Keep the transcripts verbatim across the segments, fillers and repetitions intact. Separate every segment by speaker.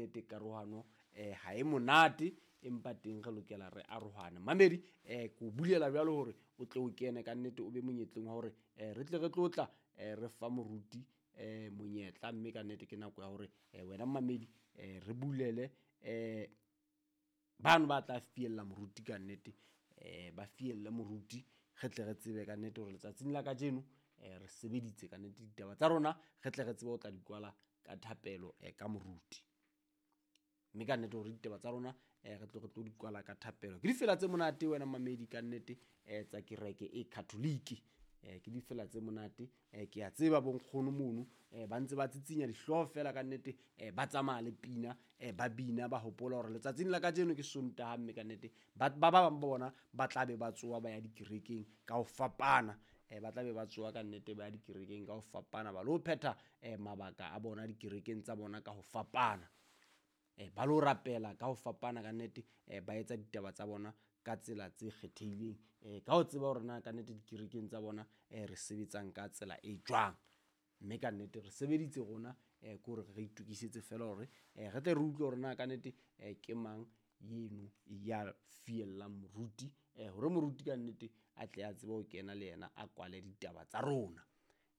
Speaker 1: nnete karohano eh ha e monate empa teng re lokela re arohane. Mamedi eh ko bulela jwalo hore o tle o kene ka nnete o be monyetleng wa hore eh re tle re tlotla eh re fa moruti eh monyetla mme ka nnete ke nako ya hore eh wena mamedi eh re bulele eh bano ba tla fiella moruti ka nnete eh ba fielle moruti re tle re tsebe ka nnete hore letsatsing la kajeno eh re sebeditse ka nnete ditaba tsa rona re tle re tsebe ho tla di kwala ka thapelo eh ka moruti. Mme ka nnete hore ditaba tsa rona eh re tlo re tlo di kwala ka thapelo. Ke difela tse monate wena mamedi ka nnete eh tsa kereke e Catholic. Eh ke difela tse monate eh ke a tseba bonkgono mono eh ba ntse ba tsitsinya dihlooho fela ka nnete eh ba tsamaya le pina eh ba bina ba hopola hore letsatsing la kajeno ke Sontaha mme ka nnete ba ba bang ba bona ba tla be ba tsoha ba ya dikerekeng ka ho fapana eh ba tla be ba tsoha ka nnete ba ya dikerekeng ka ho fapana ba lo phetha eh mabaka a bona dikerekeng tsa bona ka ho fapana eh ba lo rapela ka ho fapana ka nnete eh ba etsa ditaba tsa bona ka tsela tse kgethehileng eh ka ho tseba hore na ka nnete dikerekeng tsa bona eh re sebetsang ka tsela e jwang. Mme ka nnete re sebeditse rona eh ke hore re itokisetse fela hore eh re tle re utlwe hore na ka nnete eh ke mang yeno ya fiellang moruti eh hore moruti ka nnete a tle a tsebe ho kena le yena a kwale ditaba tsa rona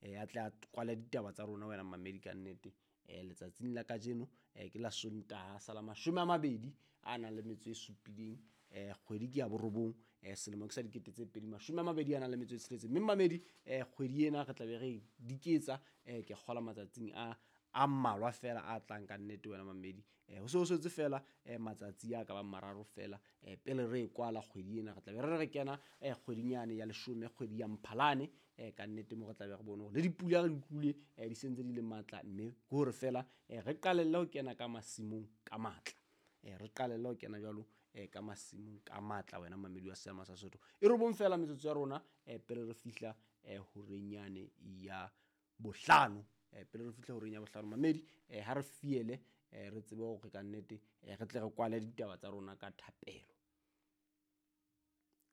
Speaker 1: eh a tle a kwale ditaba tsa rona wena mamedi ka nnete eh letsatsing la kajeno eh ke la Sontaha sa la mashome a mabedi a nang le metso e supileng eh kgwedi ke ya borobong eh selemo ke sa dikete tse pedi mashome a mabedi a nang le metso e tsheletseng. Mme mamedi eh kgwedi ena re tla be re diketsa eh ke kgola matsatsing a a mmalwa fela a tlang ka nnete wena mamedi eh ho se ho setse fela eh matsatsi a ka bang mararo fela eh pele re e kwala kgwedi ena re tla be re re kena eh kgwedinyane ya leshome kgwedi ya Mphalane eh ka nnete mo re tla be re bone hore le dipula re di utlwile eh di sentse di le matla mme ke hore fela eh re qalelle ho kena ka masimong ka matla eh re qalelle ho kena jwalo eh ka masimong ka matla wena mamedi wa Seema sa Sesotho. E robong fela metsotso ya rona eh pele re fihla eh horeng yane ya bohlano eh pele re fihla horeng ya bohlano mamedi eh ha re fiele eh re tsebe hore ka nnete eh re tle re kwale ditaba tsa rona ka thapelo.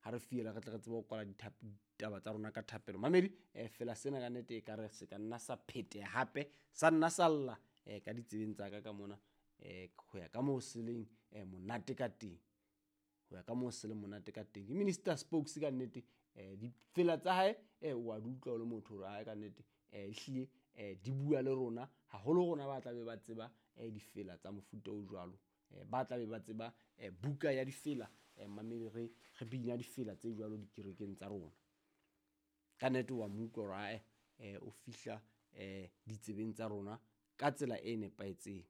Speaker 1: Ha re fiela re tle re tsebe ho kwala ditaba tsa rona ka thapelo mamedi eh fela sena ka nnete e ka re se ka nna sa phete hape sa nna sa lla eh ka ditsebeng tsa ka ka mona eh ho ya ka moo se leng eh monate ka teng ho ya ka moo se leng monate ka teng. Ke Minister Spokes ka nnete eh difela tsa hae eh wa di utlwa o le motho hore hae ka nnete eh ehlile eh di bua le rona haholo rona ba tla be ba tseba eh difela tsa mofuta o jwalo eh ba tla be ba tseba eh buka ya difela eh mamedi re re bina difela tse jwalo dikerekeng tsa rona. Ka nnete wa mo utlwa hore hae eh o fihla eh ditsebeng tsa rona ka tsela e nepahetseng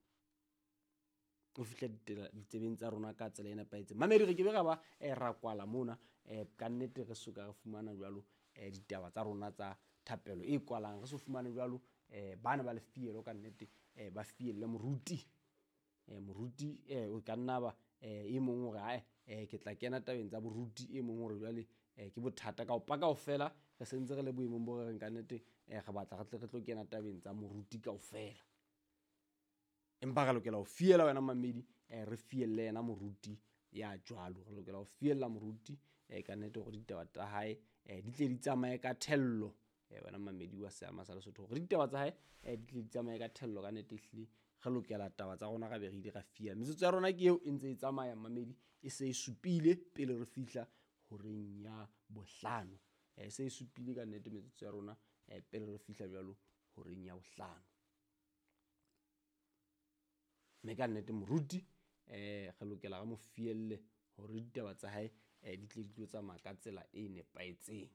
Speaker 1: o fihla ditsebeng tsa rona ka tsela e nepahetseng. Mamedi re ke be ra ba eh ra kwala mona eh ka nnete re soka re fumana jwalo eh ditaba tsa rona tsa thapelo e kwalang re so fumane jwalo eh bana ba le fielo ka nnete eh ba fielle moruti eh moruti eh o ka nna ba eh e mong hore hae eh ke tla kena tabeng tsa boruti e mong hore jwale eh ke bothata ka o paka kaofela re sentse re le boemong bo re reng ka nnete eh re batla re tle re tlo kena tabeng tsa moruti kaofela empa re lokela ho fiela wena mamedi eh re fielle yena moruti ya jwalo re lokela ho fiella moruti eh ka nnete hore ditaba tsa hae eh di tle di tsamaye ka thello eh wena mamedi wa Seema sa Lesotho hore ditaba tsa hae eh di tle di tsamaye ka thello ka nnete ehlile re lokela taba tsa rona ra be re ile ra fia. Metsotso ya rona ke eo e ntse e tsamaya mamedi e se e supile pele re fihla horeng ya bohlano eh se e supile ka nnete metsotso ya rona eh pele re fihla jwalo horeng ya bohlano. Mme ka nnete moruti eh re lokela re mo fielle hore ditaba tsa hae eh di tle di tlo tsamaya ka tsela e nepahetseng.